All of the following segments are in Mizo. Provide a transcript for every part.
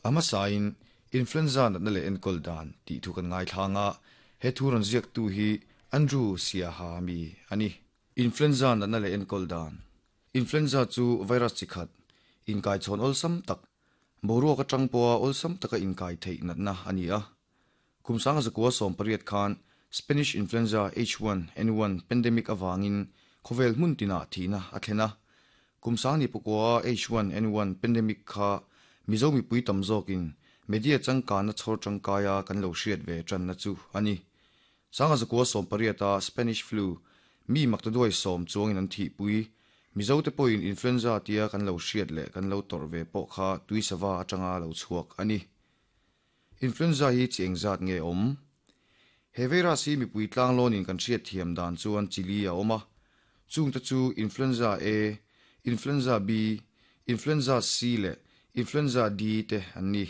A hmasain, Influenza natna leh enkawl dan tih thu kan ngaithlang a, he thu rawn ziaktu hi Andrew Siaha mi a ni. Influenza natna leh enkawl dan Influenza chu virus chi khat, inkaichhawn awlsam tak, boruak atang pawha awlsam taka inkai theih natna a ni a. Kum 1918 khan Spanish Influenza H1N1 pandemic avangin khawvel hmun tinah thihna a thlen a. Kum 1909 H1N1 pandemic kha Mizo mipui tam zawkin media changkanna chhawr tangkaia kan lo hriat ve tanna chu a ni. 1918 a Spanish Flu mi maktaduai sawm chuangin an thihpui. Mizote pawhin influenza tia kan lo hriat leh kan lo tawrh ve pawh kha tuisava atanga lo chhuak a ni. Influenza hi chi engzat nge awm? He virus hi mipui tlanglawnin kan hriat thiam dan chuan chi li a awm a, chungte chu Influenza A, Influenza B, Influenza C leh Influenza D te an ni.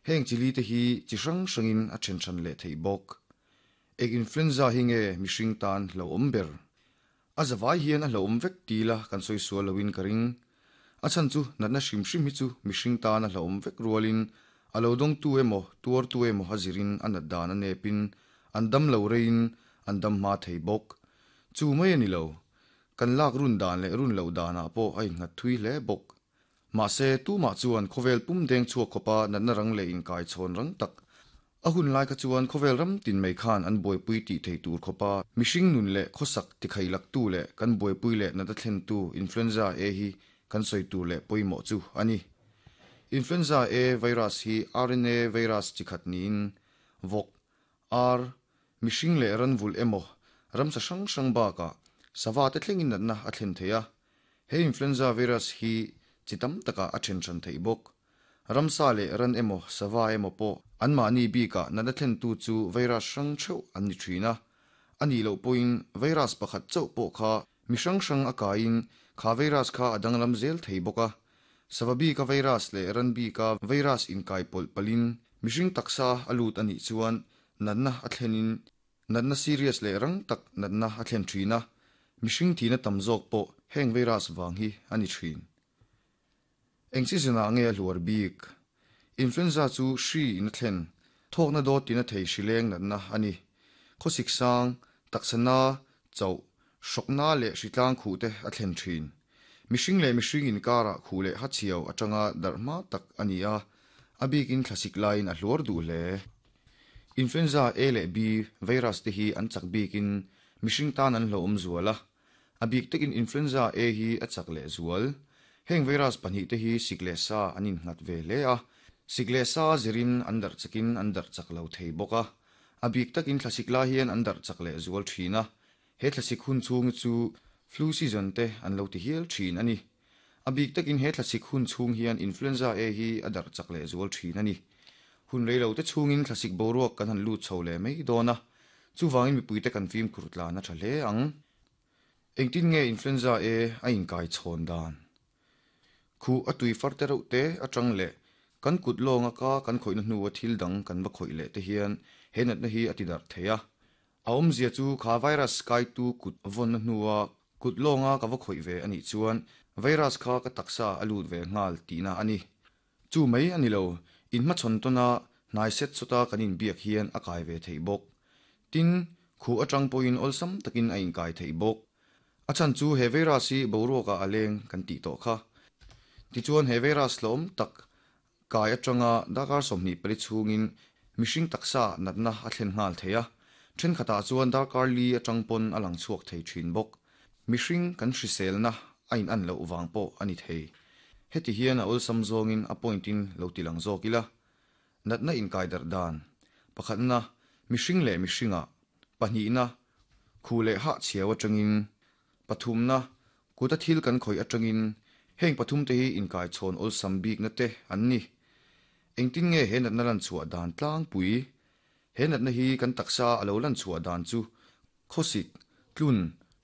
Heng chi li te hi chi hrang hrangin a then hran leh theih bawk. Eng influenza hi nge mihring tan hlauhawm ber? A zavai hian a hlauhawm vek ti ila kan sawi sual loin ka ring. A chhan chu natna hrim hrim hi chu mihring tan a hlauhawm vek rualin a lo dawngtu emaw tuartu emaw a zirin a nat dan a nepin an dam lo reiin an dam hma thei bawk. Chu mai a ni lo. Kan lak run dan leh run loh danah pawh a innghat thui hle bawk. Mahse, tumah chuan khawvel pum deng chhuak khawpa natna rang leh inkaichhawn rang tak A hun lai kha chuan khawvel ram tin mai khan an buaipui tih theih tur khawpa mihring nun leh khawsak tikhailaktu leh kan buaipui leh nata thlentu Influenza A hi kan sawi tur leh pawimawh chu a ni. Influenza A virus hi RNA virus chi khat niin vawk, ar, mihring leh ranvulh emaw ramsa hrang hrang bakah sava te thlengin natna a thlen thei a. He influenza virus hi chi tam takah a then hran theih bawk. Ramsa leh ran emaw sava emaw pawh anmahni bikah natna thlentu chu virus hrang theuh an ni thin a. A nih loh pawhin virus pakhat chauh pawh kha mi hrang hrang a kaiin kha virus kha a danglam zel thei bawk a. Sava bika virus leh ran bika virus inkai pawlh palhin mihring taksa a lut a nih chuan natna a thlenin Natna serious leh rang tak natna a thlen thin a, mihring thihna tam zawk pawh heng virus vang hi a ni thin. Eng season ah nge a hluar bik? Influenza chu hri in a thlen, thawkna dawt tina thei hrileng natna a ni. Khawsik sang, taksa na, chauh, hrawkna leh hritlang khuh te a thlen thin. Mihring leh mihring inkarah khuh leh hachhiau atanga darh hma tak a ni a, a bikin thlasik laiin a hluar duh hle. Influenza A leh B virus te hi an chak bikin mihring tan an hlauhawm zual a, a bik takin Influenza A hi a chak leh zual. Heng virus pahnihte hi sik leh sa an innghat ve hle a, sik leh sa zirin an darh chakin an darh chak lo thei bawk a, a bik takin thlasik lai hian an darh chak leh zual thin a, He thlasik hun chhung hi chu flu season te an lo ti hial thin a ni. A bik takin he thlasik hun chhung hian influenza A hi a darh chak leh zual thin a ni. Hun rei lo te chhungin thlasik boruak kan han lut chho leh mai dawn a, chuvangin mipuite kan fimkhur tlan a tha hle ang. Engtin nge influenza A a inkai chhawn dan? Khuh a tui far te reuh te atang leh kan kut lawnga ka kan khawihna hnua thil dang kan va khawih leh te hian he natna hi a ti darh thei a. A awmzia chu kha virus kaitu kut vawnna hnua kut lawnga ka va khawih ve a nih chuan virus kha ka taksa a lut ve nghal tihna a ni. Chu mai a ni lo, inhmachhawn tawna hnai set sawta kan inbiak hian a kai ve theih bawk. Tin, khuh atang pawhin awlsam takin a inkai theih bawk. A chhan chu he virus hi boruakah a leng kan tih tawh kha. Tichuan he virus hlawm tak Kai atanga darkar 24 chhungin mihring taksa natna a thlen nghal thei a, thenkhatah chuan darkar li atang pawn a lang chhuak thei thin bawk. Mihring kan hriselna a in an loh vang pawh a ni thei. Heti hian a awlsam zawngin a point in lo ti lang zawk ila. Natna inkai darh dan. Pakhatna, mihring leh mihringah. Pahnihna, khuh leh hah chhiau atangin. Pathumna, kuta thil kan khawih atangin heng pathumte hi inkaichhawn awlsam bikna te an ni. Engtin nge he natna lanchhuah dan tlangpui? He natna hi kan taksa a lo lanchhuah dan chu khawsik, tlun,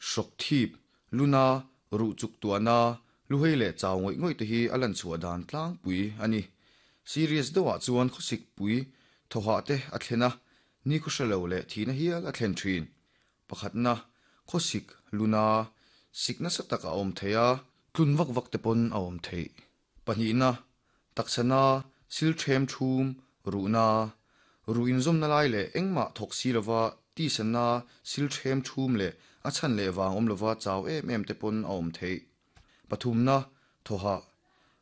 hrawk thip, luna, ruh chuk tuahna, luhei leh chau ngawih ngawih te hi a lanchhuah dan tlangpui a ni. Serious deuhah chuan khawsik pui thawhah te a thlen a, nikhaw hre lo leh thihna hial a thlen thin. Pakhatna, khawsik, luna, sik nasa tak a awm thei a, tlun vak vak te pawn a awm theih. Pahnihna, taksana, Sil ṭhem ṭhum, ruhna, ruh inzawmna lai leh engmah thawk si lova tisanna sil ṭhem ṭhum leh a chhan leh vang awm lova chau em em te pawn a awm theih. Pathumna, thawhah.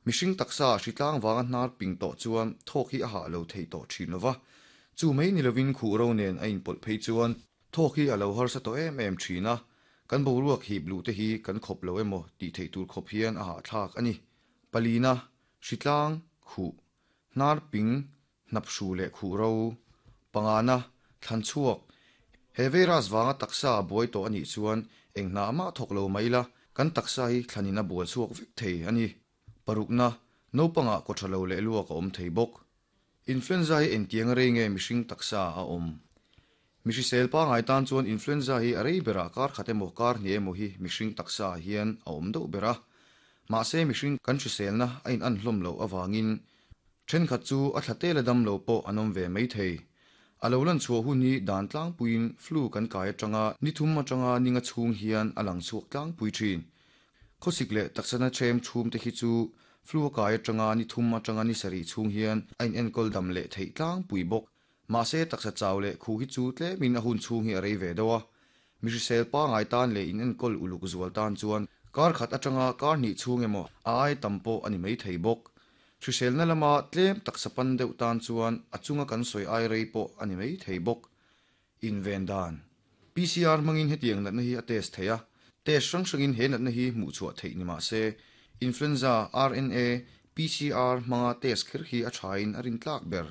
Mihring taksa hritlang vanga hnar ping tawh chuan thawk hi a hah lo thei tawh ṭhin lova, chu mai ni lovin khuh ro nen a inpawlh phei chuan thawk hi a lo harsa tawh em em ṭhin a, kan boruak hip luh te hi kan khawp lo emaw tih theih tur khawp hian a hahthlak a ni. Palina, hritlang, khuh, hnar ping, hnap hru leh khuh ro. Pangana, thlan chhuak. He virus vanga taksa a buai tawh a nih chuan eng hna mah thawk lo mai ila, kan taksa hi thlanin a bual chhuak vek thei a ni. Parukna, naupangah kaw tha lo leh luak a awm thei bawk. Influenza hi engtiang rei nge mihring taksa a awm? Mi hrisel pangai tan chuan influenza hi a rei berah kar khat emaw kar hnih emaw hi mihring taksa ah hian a awm deuh ber a. Mahse mihring kan hriselna a in an hlawm loh avangin thenkhat chu a thla tela dam lo pawh an awm ve mai thei. A lo lan chhuah hun hi dan tlangpuiin flu kan kai atanga ni thum atanga ni nga chhung hian a lang chhuak tlangpui thin. Khawsik leh taksana ṭhem chhum te khi chu flu a kai atanga ni thum atanga ni sarih chhung hian a in enkawl dam leh theih tlangpui bawk. Mahse taksa chau leh khu hi chu tlemin a hun chhung hi a rei ve deuh a. Mi hrisel pangai tan leh in enkawl uluk zual tan chuan kar khat atanga kar hnih chhung emaw a ai tam pawh a ni mai thei bawk. Hriselna lama tlem taksa pan deuh tan chuan a chunga kan sawi ai rei pawh a ni mai thei bawk. Inven dan. PCR hmangin hetiang natna hi a test thei a, test hrang hrangin he natna hi hmuh chhuah theih ni mah se, influenza RNA PCR hmanga test kher hi a thain a rintlak ber.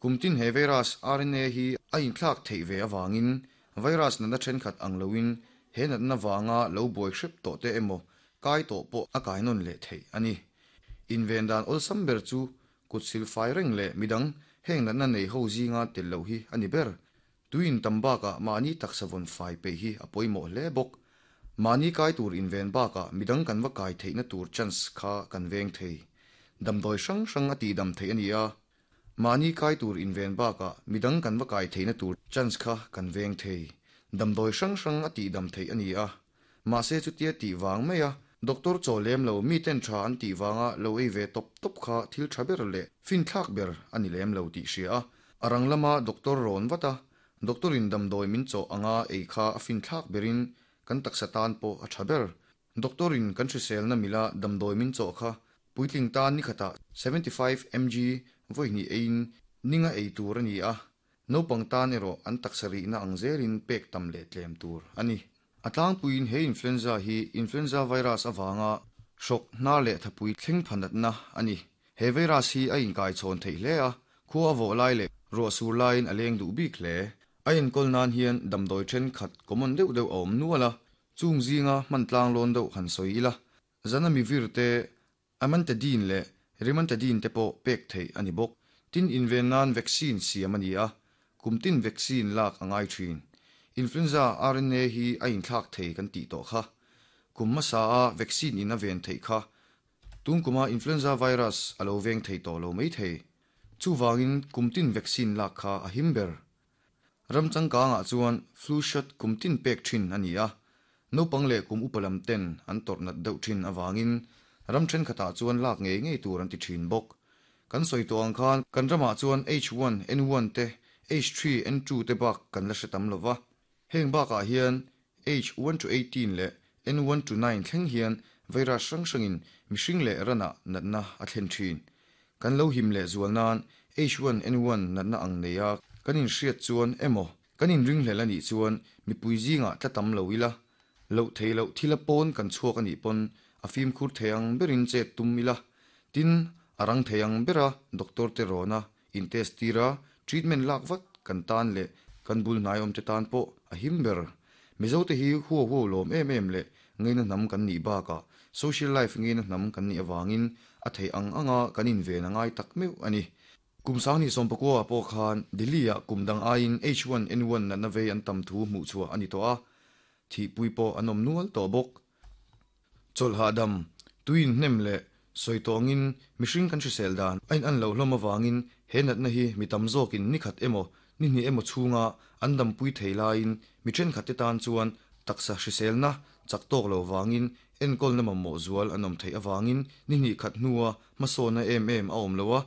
Kum tin he virus RNA hi a inthlak theih ve avangin virus natna thenkhat ang loin he natna vanga lo buai hrep tawh te emaw kai tawh pawh a kai nawn leh theih a ni. Inven dan awlsam ber chu Kut sil fai reng leh midang heng natna nei ho zinga tel loh hi a ni ber. Tui in tam bakah mahni taksa vawn fai peih hi a pawimawh hle bawk. Mahni kai tur inven bakah midang kan va kai theihna tur chance kha kan veng thei. Damdawi hrang hrang a tihdam theih a ni a. Mahni kai tur inven bakah midang kan va kai theihna tur chance kha kan veng thei. Damdawi hrang hrang a tihdam theih a ni a. Mahse chutia tih vang mai a, doctor chaw lem lo mi ten tha an tih vanga lo ei ve tawp tawp kha thil tha ber leh finthlak ber a ni lem lo tih hria a, a rang lama doctor rawn vat a, doctor in damdawi min chawh anga ei kha a finthlak berin kan taksa tan pawh a tha ber. Doctor in kan hriselna mila damdawi min chawh kha puitling tan nikhatah 75 mg vawi hnih eiin ninga ei tur a ni a, naupang tan erawh an taksa rihna ang zelin pek tam leh tlem tur a ni. A tlangpuiin he influenza hi influenza virus avanga hrawk, hnar leh thapui thleng pha natna a ni. He virus hi a inkaichhawn theih hle a, khua a vawh lai leh ruah sur laiin a leng duh bik hle. A enkawl nan hian damdawi thenkhat common deuh deuh a awm nual a, chung zinga hman tlang lawn deuh han sawi ila, Zanamivir te, Amantadine leh Rimantadine te pawh pek theih a ni bawk. Tin, inven nan vaccine siam a ni a, kum tin vaccine lak a ngai thin. Influenza RNA hi a inthlak thei kan tih tawh kha. Kum hmasa a vaccine in a ven theih kha. Tun kuma influenza virus a lo veng thei tawh lo mai thei. Chuvangin kum tin vaccine lak kha a him ber. Ram changkangah chuan flu shot kum tin pek thin a ni a, naupang leh kum upa lam ten an tawrh nat deuh thin avangin ram thenkhatah chuan lak ngei ngei tur an ti thin bawk. Kan sawi tawh ang khan kan ramah chuan H1N1 te, H3N2 te bak kan la hre tam lo va. Heng bakah hian H1 to 18 leh N1 to 9 thleng hian virus hrang hrangin mihring leh ranah natna a thlen thin. Kan lo him leh zual nan H1N1 natna ang nei a kan inhriat chuan emaw kan inringhlel a nih chuan mipui zingah tla tam lo ila, loh thei loh thila pawn kan chhuak a nih pawn a fimkhur thei ang berin chet tum ila, tin a rang thei ang bera doctor te rawna in test tir a, treatment lak vat kan tan leh kan bul hnai awmte tan pawh a him ber. Mizote hi huau huau lawm em em leh ngeina hnam kan nih bakah social life ngeina hnam kan nih avangin a theih ang anga kan inven a ngai tak meuh a ni. Kum sanghnih sawmpakua ah pawh khan Delhi-ah kum dang aiin H1N1 natna vei an tam thu hmuhchhuah a ni tawh a, thihpui pawh an awm nual tawh bawk. Chawlh hahdam, tui inhnem leh sawi tawngin mihring kan hrisel dan a in an loh hlawm avangin he natna hi mi tam zawkin ni khat emaw ni hnih emaw chhunga an dampui thei laiin mi thenkhat te tan chuan taksa hriselna chak tawk lo vangin enkawlna mamawh zual an awm theih avangin ni hnih khat hnua hmasawnna em em a awm lo a.